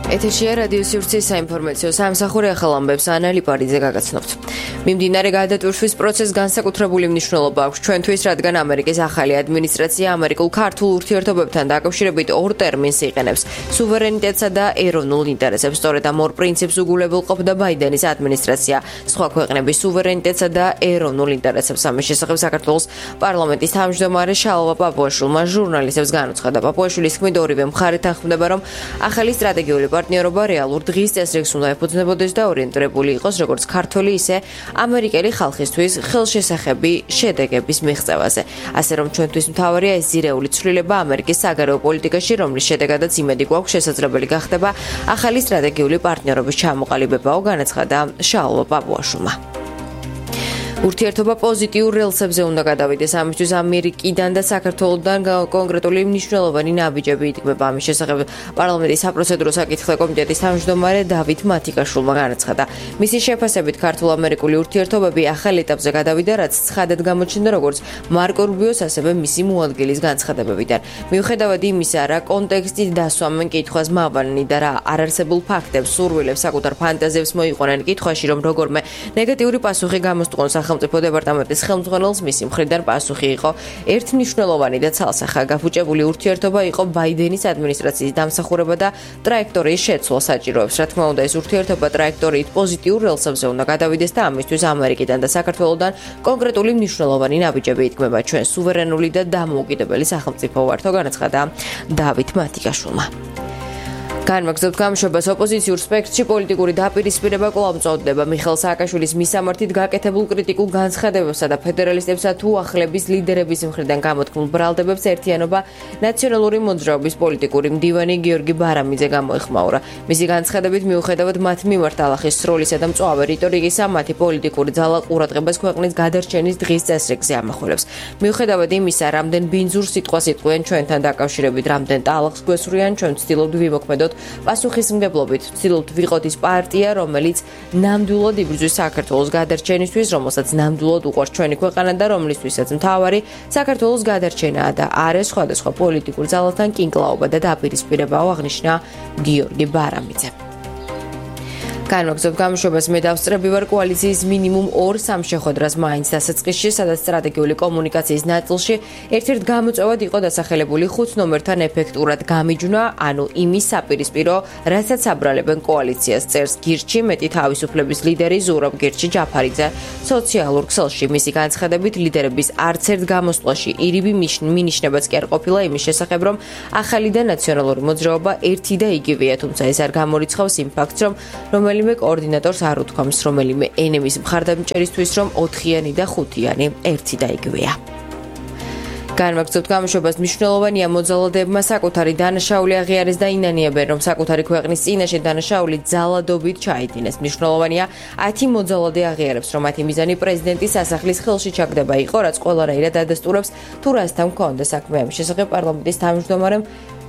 ეთერშია რადიო სივრცის საინფორმაციო სამსახური ახალ ამბებს ანა ლიპარიძე გაგაცნობთ. მიმდინარე გადატვირთვის პროცესს განსაკუთრებული მნიშვნელობა აქვს ჩვენთვის, რადგან ამერიკის ახალი ადმინისტრაცია ამერიკულ-ქართულ ურთიერთობებთან დაკავშირებით ორ ტერმინს იყენებს: სუვერენიტეტსა და ეროვნულ ინტერესებს. სწორედ ამ ორ პრინციპს უგულებელყოფდა ბაიდენის ადმინისტრაცია. სხვა ქვეყნების სუვერენიტეტსა და ეროვნულ ინტერესებს. ამის შესახებ საქართველოს პარლამენტის თავმჯდომარე შალვა პაპუაშვილმა ჟურნალისტებს განუცხადა. პაპუაშვილის თქმით, ორივე მხარე თანხმდება, რომ ახალი სტრატეგიული პარტნიორობა რეალურ დღის წესრიგს უნდა ეფუძნებოდეს და ორიენტირებული იყოს როგორც ქართველი, ისე ამერიკელი ხალხისთვის ხელშესახები შედეგების მიღწევაზე. ასე რომ ჩვენთვის მთავარია ეს ძირეული ცვლილება ამერიკის საგარეო პოლიტიკაში, რომლის შედეგადაც იმედი გვაქვს შესაძლებელი გახდება ახალი სტრატეგიული პარტნიორობის ჩამოყალიბებაო, განაცხადა შალვა პაპუაშვილმა. ურთიერთობა პოზიტიურ რელსებზე უნდა გადავიდეს. ამისთვის ამერიკიდან და საქართველოსთან კონკრეტული მნიშვნელოვანი ნაბიჯები ითქმება. ამის შესახებ პარლამენტის საპროცედურო საკითხთა კომიტეტის თავმჯდომარე დავით მათიკაშვილმა განაცხადა. მისი შეფასებით ქართულ-ამერიკული ურთიერთობები ახალ ეტაპზე გადავიდა, რაც ცხადად გამოჩნდა როგორც მარკო რუბიოს, ასევე მისი მოადგილის განცხადებებიდან. მიუხედავად იმისა, რა კონტექსტით დასვამენ კითხვას მავალი და რა არარსებულ ფაქტებს, სურვილებს, საკუთარ ფანტაზიებს მოიყვანენ კითხვაში, რომ როგორმე ნეგატიური პასუხი გამოსტყონ სახელმწიფო დეპარტამენტის ხელმძღვანელს, მისი მხრიდან პასუხი იყო ერთმნიშვნელოვანი და ცალსახა. გაფუჭებული ურთიერთობა იყო ბაიდენის ადმინისტრაციის დამსახურება და ტრაექტორიის შეცვლა საჭიროებს. რა თქმა უნდა, ეს ურთიერთობა ტრაექტორიით პოზიტიურ რელსებზე უნდა გადავიდეს და ამისთვის ამერიკიდან და საქართველოსთან კონკრეტული მნიშვნელოვანი ნაბიჯები ითქმება. ჩვენ სუვერენული და დამოუკიდებელი სახელმწიფო ვართ, განაცხადა დავით მათიკაშვილმა. განვაგრძობთ გამოშვებას. ოპოზიციურ სპექტრში პოლიტიკური დაპირისპირება კვლავ მწოდდება. მიხეილ სააკაშვილის მისამართით გაკეთებულ კრიტიკულ განცხადებებსა და ფედერალისტებსა თუ ახლების ლიდერების მხრიდან გამოთქმულ ბრალდებებს ერთიანობა ნაციონალური მოძრაობის პოლიტიკური მდივანი გიორგი ბარამიძე გამოეხმაურა. მისი განცხადებით, მიუხედავად მათ მიმართ ალახის სროლისა და მწვავე რიტორიკისა, მათი პოლიტიკური ძალა ყურადღებას ქვეყნის გადარჩენის დღის წესრიგზე ამახვილებს. მიუხედავად იმისა, რამდენ ბინძურ სიტყვას იტყვიან ჩვენთან დაკავშირებით, რამდენ ტალახს გვესურიან, ჩვენ ვცდილობთ ვიმოქმედოთ პასუხისმგებლობით. ვცდილობთ ვიყოთ ის პარტია, რომელიც ნამდვილად იბრძვის საქართველოს გადარჩენისთვის, რომელსაც ნამდვილად უყვარს ჩვენი ქვეყანა და რომლისთვისაც მთავარი საქართველოს გადარჩენაა და არა სხვადასხვა პოლიტიკურ ძალათან კინკლაობა და დაპირისპირებაო, აღნიშნა გიორგი ბარამიძე. განვაგრძობ გამოშვებას. მე დავსწრები ვარ კოალიციის მინიმუმ 2-3 შეხვედრას მაინც დასაწყისში, სადაც სტრატეგიული კომუნიკაციის ნაწილში ერთ-ერთ გამოწვევად იყო დასახელებული 5 ნომერთან ეფექტურად გამიჯვნა, ანუ იმის საპირისპირო, რასაც აბრალებენ კოალიციას, წერს გირჩი მეტი თავისუფლების ლიდერი ზურაბ გირჩი ჯაფარიძე სოციალურ ქსელში. მისი განცხადებით, ლიდერების არც ერთ გამოსვლაში ირიბი მინიშნებაც კი არ ყოფილა იმის შესახებ, რომ ახალი და ნაციონალური მოძრაობა ერთი და იგივეა, თუმცა ეს არ გამორიცხავს იმ ფაქტს, რომ რომელიმე კოორდინატორს არ უთქვამს რომელიმე ენების მხარდამჭერისთვის, რომ 4-იანი და 5-იანი ერთი და იგივეა. განვაგრძობთ გამოშვებას. მნიშვნელოვანია მოძალადებმა საკუთარი დანაშაული აღიარეს და ინანიებენ, რომ საკუთარი ქვეყნის წინაშე დანაშაული ძალადობით ჩაიდინეს. მნიშვნელოვანია 10 მოძალადე აღიარებს, რომ მათი მიზანი პრეზიდენტის სასახლის ხელში ჩაგდება იყო, რაც ყველანაირად ადასტურებს თუ რასთან მქონდა საქმე. ამის შესახებ პარლამენტის თავმჯდომარემ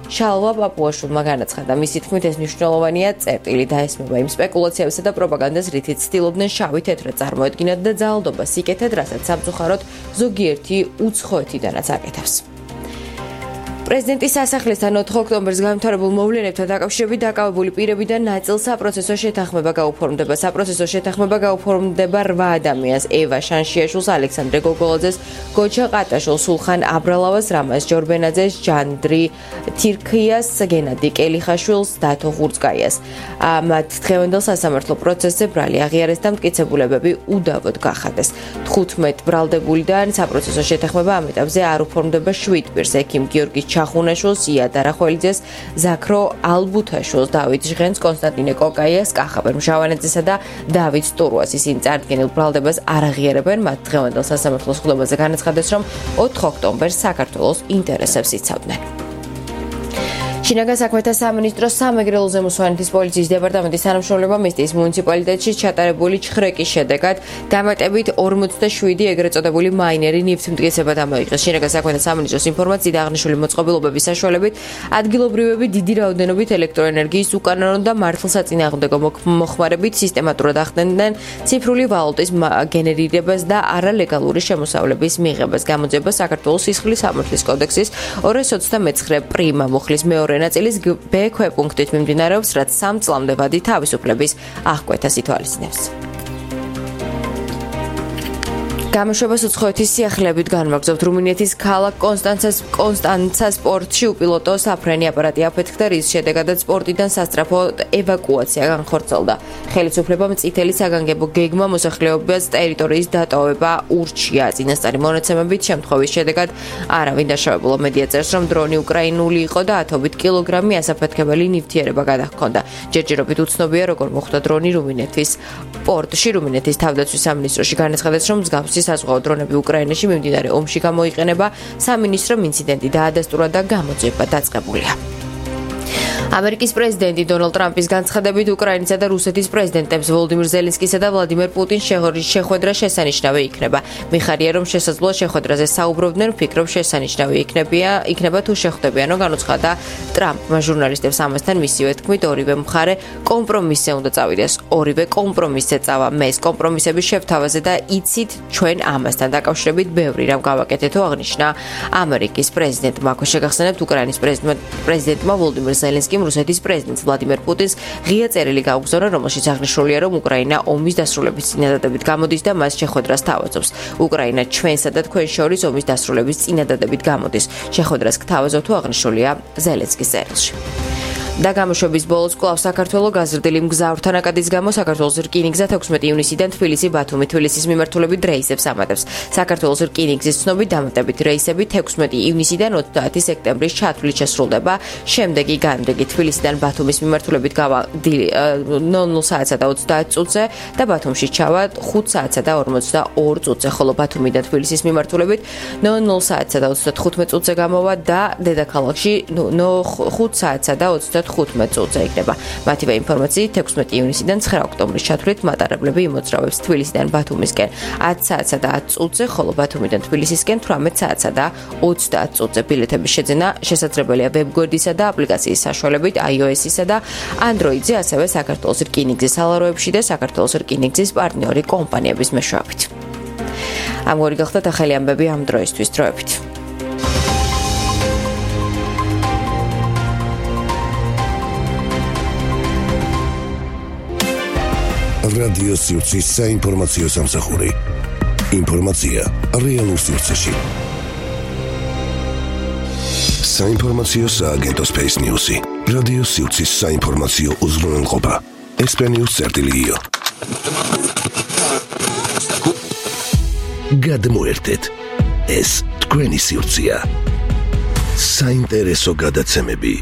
შალვა პაპუაშვილმა განაცხადა. მისი თქმით, ეს მნიშვნელოვანია წერტილი დაესმება იმ სპეკულაციებსა და პროპაგანდას, რითიც ცდილობდნენ შავი თეთრად წარმოედგინათ და ძალადობას იკეთეთ, რასაც სამწუხაროდ ზოგიერთი უცხოეთიდანაც აკეთებს. პრეზიდენტის სასახლესთან 4 ოქტომბერს განვითარებულ მოვლენებთან დაკავშირებით დაკავებული პირებიდან ნაწილ საპროცესო შეთანხმება გაუფორმდება. საპროცესო შეთანხმება გაუფორმდება 8 ადამიანს: ევა შანშიაშვილს, ალექსანდრე გოგოლაძეს, გოჩა ყატაშვილს, სულხან აბრალავას, რამაზ ჯორბენაძეს, ჟანდრი თირქიას, გენადი კელიხაშვილს, დათო ხურცკაიას. მათ დღევანდელ სასამართლო პროცესზე ბრალი აღიარეს და მტკიცებულებები უდავოდ გახადეს. 15 ბრალდებულიდან საპროცესო შეთანხმება ამ ეტაპზე არ უფორმდება 7 პირს: ექიმ გიორგი ჩახუნაშვილს, ია დარახველიძეს, ზაქრო ალბუთაშვილს, დავით ჟღენს, კონსტანტინე კოკაიას, კახაბერ მჟავანაძესა და დავით სტურუას. ისინი წარდგენილ ბრალდებას არ აღიარებენ. მათ დღევანდელ სასამართლოს ხდომაზე განაცხადეს, რომ 4 ოქტომბერს საქართველოს ინტერესებს იცავდნენ. შინაგან საქმეთა სამინისტროს სამეგრელო ზემოსვანეთის პოლიციის დეპარტამენტის თანამშრომლებმა მესტიის მუნიციპალიტეტში ჩატარებული ჩხრეკის შედეგად დამატებით 47 ეგრეთ წოდებული მაინერი ნივთმტკიცება დამოიღეს. შინაგან საქმეთა სამინისტროს ინფორმაციით აღნიშნული მოწყობილობების საშუალებით ადგილობრივები დიდი რაოდენობით ელექტროენერგიის უკანონო და მართლსაწინააღმდეგო მოხმარებით სისტემატურად ახდენდნენ ციფრული ვალუტის გენერირებას და არალეგალური შემოსავლების მიღებას. გამოძიება საქართველოს სისხლის სამართლის კოდექსის 229 პრიმა მუხლის მეორე მეორე ნაწილის B ქვეპუნქტით მიმდინარეობს, რაც 3 წლამდე ვადი თავისუფლების აღკვეთას ითვალისწინებს. გამოშვებას უცხოეთის სიახლეებით განვაგრძობთ. რუმინეთის ქალაქ კონსტანცას პორტში უპილოტო საფრენი აპარატი აფეთქდა, რის შედეგადაც პორტიდან სასწრაფო ევაკუაცია განხორციელდა. ხელისუფლებამ წითელი საგანგებო გეგმა მოსახლეობას ტერიტორიის დატოვება ურჩია. წინასწარი მონაცემებით შემთხვევის შედეგად არავინ დაშავებულა. მედია წერს, რომ დრონი უკრაინული იყო და ათობით კილოგრამი ასაფეთქებელი ნივთიერება გადაჰქონდა. ჯერჯერობით უცნობია, როგორ მოხვდა დრონი რუმინეთის პორტში. რუმინეთის თავდაცვის სამინისტროში განაცხადეს, რომ მსგავსი საზღვაო დრონები უკრაინაში მიმდინარე ომში გამოიყენება. სამინისტრომ ინციდენტი დაადასტურა და გამოძიება დაწყებულია. ამერიკის პრეზიდენტი დონალდ ტრამპის განცხადებით უკრაინისა და რუსეთის პრეზიდენტებს ვოლოდიმირ ზელენსკისა და ვლადიმერ პუტინს შეხვედრა შესანიშნავი იქნება. მიხარია, რომ შესაძლოა შეხვედრაზე საუბრობდნენ, ვფიქრობ შესანიშნავი იქნება თუ შეხვდებიანო, განუცხადა ტრამპმა ჟურნალისტებს. ამასთან მისივე თქმით, ორივე მხარე კომპრომისზე უნდა წავიდეს. ორივე კომპრომისზე წავა. მე კომპრომისების შევთავაზე და იცით ჩვენ ამასთან დაკავშირებით ბევრი რამ გავაკეთეთო, აღნიშნა ამერიკის პრეზიდენტმა. აქ შეგახსენებთ, უკრაინის პრეზიდენტმა ვოლოდიმირ ზელენსკიმ რუსეთის პრეზიდენტს ვლადიმერ პუტინს ღია წერილი გაუგზავნა, რომელშიც აღნიშნულია, რომ უკრაინა ომის დასრულების წინადადებით გამოდის და მას შეხვედრას თავაზობს. უკრაინა ჩვენსა და თქვენ შორის ომის დასრულების წინადადებით გამოდის. შეხვედრას გთავაზობ თუ აღნიშნულია ზელენსკის წერილში. და გამოშვების ბოლოს კვლავ საქართველოს გაზრდილი მგზავრთა ნაკადის გამო საქართველოს რკინიგზა 16 ივნისიდან თბილისი-ბათუმი-თბილისის მიმართულებით რეისებს ამატებს. საქართველოს რკინიგზის ცნობით დამატებით რეისები 16 ივნისიდან 30 სექტემბრის ჩათვლით შესრულდება. შემდეგი განრიგი თბილისიდან ბათუმის მიმართულებით გავა 00 საათსა და 30 წუთზე და ბათუმში ჩავა 5 საათსა და 42 წუთზე, ხოლო ბათუმიდან თბილისის მიმართულებით 00 საათსა და 35 წუთზე გამოვა და დედაქალაქში 5 საათსა და 15 წუთზე იქნება. მათივე ინფორმაციით 16 ივნისიდან 9 ოქტომბრის ჩათვლით მატარებლები იმოძრავებს თბილისიდან ბათუმისკენ 10 საათსა და 10 წუთზე, ხოლო ბათუმიდან თბილისისკენ 18 საათსა და 30 წუთზე. ბილეთების შეძენა შესაძლებელია ვებგვერდისა და აპლიკაციის საშუალებით iOS-ისა და Android-ზე, ასევე საქართველოს რკინიგზის სალაროებში და საქართველოს რკინიგზის პარტნიორი კომპანიების მეშვეობით. ამგვარი გახდათ ახალი ამბები ამ დროისთვის. დროებით. რადიო სივრცის საინფორმაციო სამსახური. ინფორმაცია რეალურ სივრცეში. საინფორმაციო სააგენტო Space News-ი. რადიო სივრცის საინფორმაციო უზრუნველყოფა. SPNews.io. გადმოერთეთ. ეს თქვენი სივრცეა. საინტერესო გადაცემები.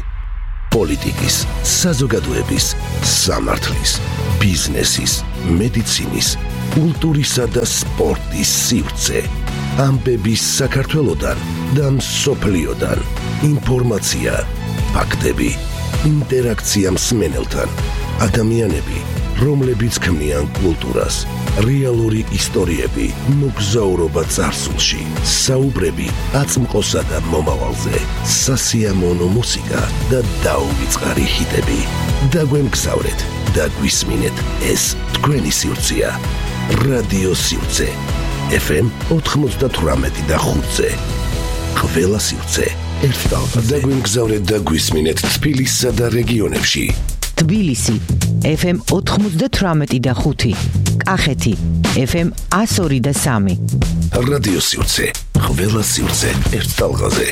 პოლიტიკის, საზოგადოების, სამართლის, ბიზნესის, მედიცინის, კულტურისა და სპორტის სივრცე. ამბები საქართველოდან და მსოფლიოდან. ინფორმაცია, ფაქტები, ინტერაქცია მსმენელთან. ადამიანები, რომლებიც ქმნიან კულტურას. რეალური ისტორიები, მოგზაურობა წარსულში, საუბრები აწმყოსა და მომავალზე, სასიამოვნო მუსიკა და დაუვიწყარი ჰიტები. დაგვემგზავრეთ და გვისმინეთ, ეს თქვენი სივრცეა. რადიო სივრცე. FM 98.5-ზე. ყველა სივრცე ერთ ტალღაზე. დაგვემგზავრეთ და გვისმინეთ თბილისსა და რეგიონებში. თბილისი FM 98.5, კახეთი FM 102.3. რადიო სივრცე, ყველა სივრცე ერთ ტალღაზე.